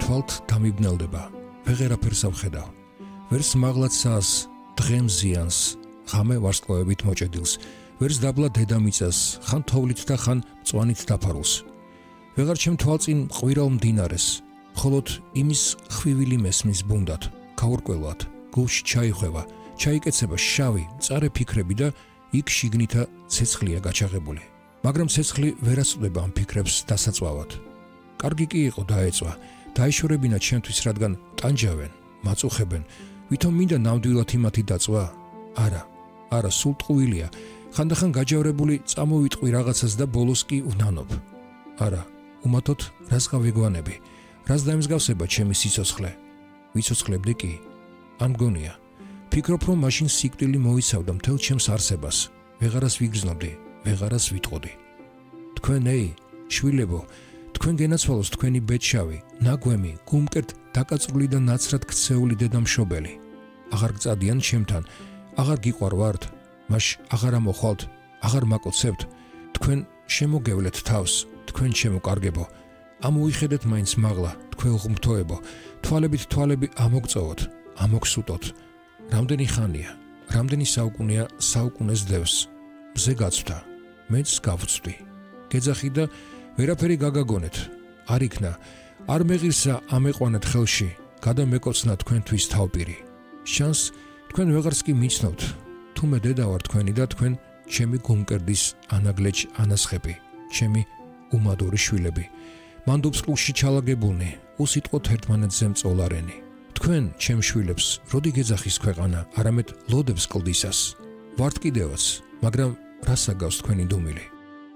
თვალთ დამიბნელდება, ვეღერაფერს ავხედავ. ვერს მაღლაცას, დღემ ზიანს, ღამე ვარსკვლავებით მოჭედილს, ვერს დაბლა დედამიწას, ხან თოვლით და ხან მწვანით დაფარულს. ვეღარ ჩემ თვალწინ ყვირალ მდინარეს, მხოლოდ იმის ხვივილი მესმის ბუნდად, გაურკვევლად, გულში ჩაიხვევა, ჩაიკეცება შავი, მწარე ფიქრები და იქ შიგნითა ცეცხლია გაჩაღებული. მაგრამ ცეცხლი ვერასწვდება ამ ფიქრებს დასაწვავად. კარგი კი იყო დაეწვა, დაეშორებინა ჩემთვის, რადგან ტანჯავენ, მაწუხებენ, ვითომ მინდა ნამდვილად იმათი დაწვა? არა, სულ ტყუილია, ხანდახან გაჯავრებული წამოვიტყვი რაღაცას და ბოლოს კი ვნანობ. არა, უმათოდ რას გავეგვანები, რას დაემსგავსება ჩემი სიცოცხლე? ვიცოცხლებდი კი? არ მგონია. ფიქრობ, რომ მაშინ სიკვდილი მოიცავდა მთელ ჩემს არსებას, ვეღარას ვიგრძნობდი, ვეღარას ვიტყოდი. თქვენ შვილებო, თქვენ გენაცვალოს თქვენი ბედშავი, ნაგვემი, გულმკერდ დაკაწრული და ნაცრად ქცეული დედამშობელი. აღარ გწადიან ჩემთან, აღარ გიყვარვართ, მაშ აღარ ამოხვალთ, აღარ მაკოცებთ, თქვენ შემოგევლეთ თავს, თქვენ შემოკარგებო, ამოიხედეთ მაინც მაღლა, თქვენ ღმრთოებო, თვალებით თვალები ამოგწოვოთ, ამოგსუტოთ. რამდენი ხანია, რამდენი საუკუნეა საუკუნეს დევს, მზე გაცვდა, მეც გავწვდი. გეძახი და ვერაფერი გაგაგონეთ, არ იქნა, არ მეღირსა ამეყვანეთ ხელში, გადამეკოცნა თქვენთვის თავპირი. შანს თქვენ ვეღარს კი მიცნობთ, თუმე დედა ვარ თქვენი და თქვენ ჩემი გულმკერდის ანაგლეჯ ანასხები, ჩემი უმადური შვილები. მანდობს ყულში ჩალაგებულნი, უსიტყვოთ ერთმანეთზე მწოლარენი. თქვენ ჩემ შვილებს როდი გეძახის ქვეყანა, არამედ ლოდებს კლდისას. ვართ კიდევაც, მაგრამ რას აგავს თქვენი დუმილი?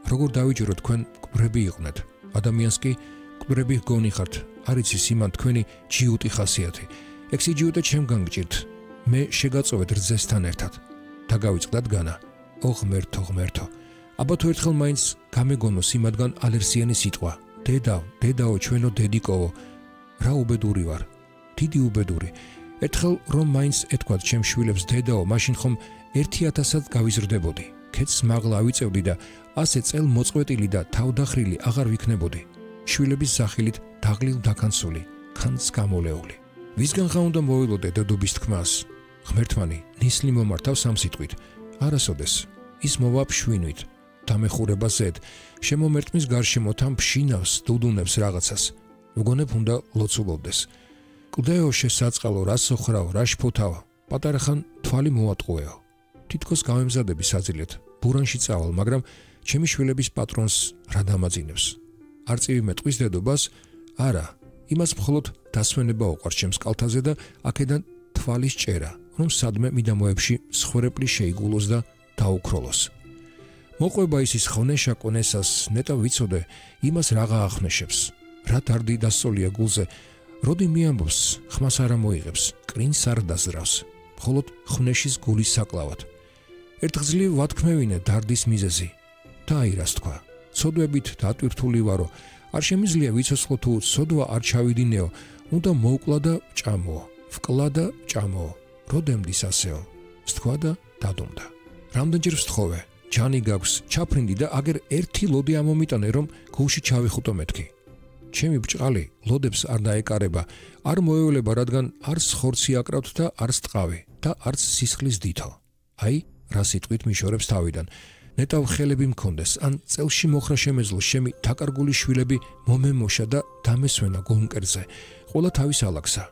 როგორ დავიჯერო თქვენ მკვდრები იყვნენ, ადამიანს კი მკვდრები გონი ხართ, არ იცის იმან თქვენი ჯიუტი ხასიათი. ექსიჯიუტე ჩემგან გჭირთ, მე შეგაწოვეთ რძესთან ერთად. დაგავიწყდათ განა, ღმერთო. აბა თუ ერთხელ მაინც გამეგონოს იმადგან ალერსიანი სიტყვა, დედაო, ჩვენო დედიკოვო, რა უბედური ვარ, დიდი უბედური. ერთხელ რომ მაინც ეთქვათ ჩემ შვილებს დედაო, მაშინ ხომ 1000-ად გავიზრდებოდი. ქეთს მაღლა ავიწევდი და ასე წელ მოწყვეტილი და თავდახრილი აღარ ვიქნებოდი. შვილების სახილით დაღლილ დაქანცული, ხანს გამოლეული. ვისგან ხა უნდა მოვილოდე დედობის თქმას? ღმერთმანი ნისლი მომართავს ამ სიტყვით, არასოდეს, ის მოვა ფშვინვით, დამეხურება ზედ, შემომერტმის გარშემო თან ფშინავს, დუდუნებს რაღაცას. ვგონებ უნდა ლოცულობდეს. კლდეო შესაწყალო, რა სოხრაო, რა შფოთავ, პატარა ხან თვალი მოვატყუეო. თითქოს გავემზადები საძილეთ, ბურანში წავალ, მაგრამ ჩემი შვილების პატრონს რა დამაძინებს? არწივი მეტყვის დედობას? არა, იმას მხოლოდ დასვენება უყვარს ჩემს კალთაზე და აქედან თვალის ჭერა, რომ სადმე მიდამოებში მსხვერპლი შეიგულოს და დაუქროლოს. მოყვება ისის ხონეშა კონესას, ნეტა ვიცოდე, იმას რაღა ახნეშებს, რა დარდი დასწოლია გულზე, როდი მიამბობს, ხმას არ მოიღებს, კრინს არ დაზრავს, მხოლოდ ხნეშის გულის საკლავად. ერთხძლივ ვათქმევინე დარდის მიზეზი. დაირას თქვა, ცოდვებით დატვირთული ვარო, არ შემიძლია ვიცოცხლო თუ ცოდვა არ ჩავიდინეო, უნდა მოვკლა და ჭამოო, ვკლა და ჭამოო, როდემდის ასეო, სთქვა და დადუმდა. რამდენჯერ ვსთხოვე, ჯანი გაქვს, ჩაფრინდი და აგერ ერთი ლოდი ამომიტანე, რომ გულში ჩავიხუტო მეთქი. ჩემი ბრჭყალი ლოდებს არ დაეკარება, არ მოევლება, რადგან არც ხორცი აკრავთ და არც ტყავი და არც სისხლის დითო. აი, რა სიტყვით მიშორებს თავიდან. ნეტავ ხელები მქონდეს, ან წელში მოხრა შემეძლო შემი დაკარგული შვილები მომემოშა და დამესვენა გულმკერდზე, ყველა თავის ალაგსა.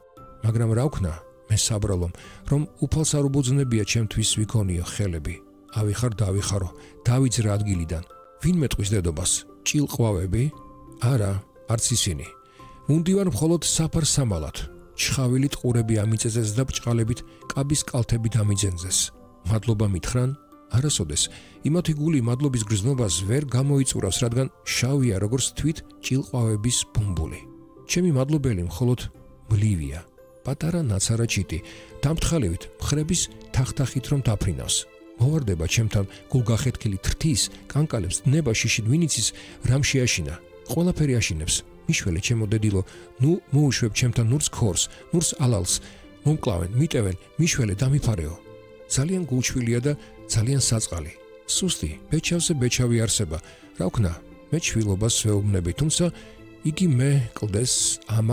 მაგრამ რა ვქნა, მე საბრალომ, რომ უფალს არ უბოძნებია ჩემთვის ვიქონიო ხელები. ავიხარ დავიხარო, დავიძრა ადგილიდან. ვინ მეტყვის დედობას? ჭილყვავები? არა, არც ისინი. მუნდივარ მხოლოდ საფარ-სამალად. ჩხავილი ტყურები ამიწეძეს და ბრჭყალებით კაბის კალთები დამიძენძეს. მადლობა მითხრან? არასოდეს, იმათი გული მადლობის გრძნობას ვერ გამოიწურავს, რადგან შავია როგორც თვით ჭილყვავების ბუმბული. ჩემი მადლობელი მხოლოდ მლივია, პატარა ნაცარა ჩიტი, დამთხალივით მხრების თახთახით რომ დაფრინავს. მოვარდება ჩემთან გულგახეთქილი თრთის, კანკალებს ნება შიშით ვინიცის რამ შეაშინა. ყველაფერი აშინებს. მიშველე ჩემო დედილო, ნუ მოუშვებ ჩემთან ნურს ქორს, ნურს ალალს, მომკლავენ, მიტევენ, მიშველე დამიფარეო. ძალიან გულჩვილია და ძალიან საწყალი. სუსტი, ბეჩავზე ბეჩავი არსება. რა ვქნა, მე ჩვილობას ვეუბნები, თუმცა იგი მე კლდეს ამა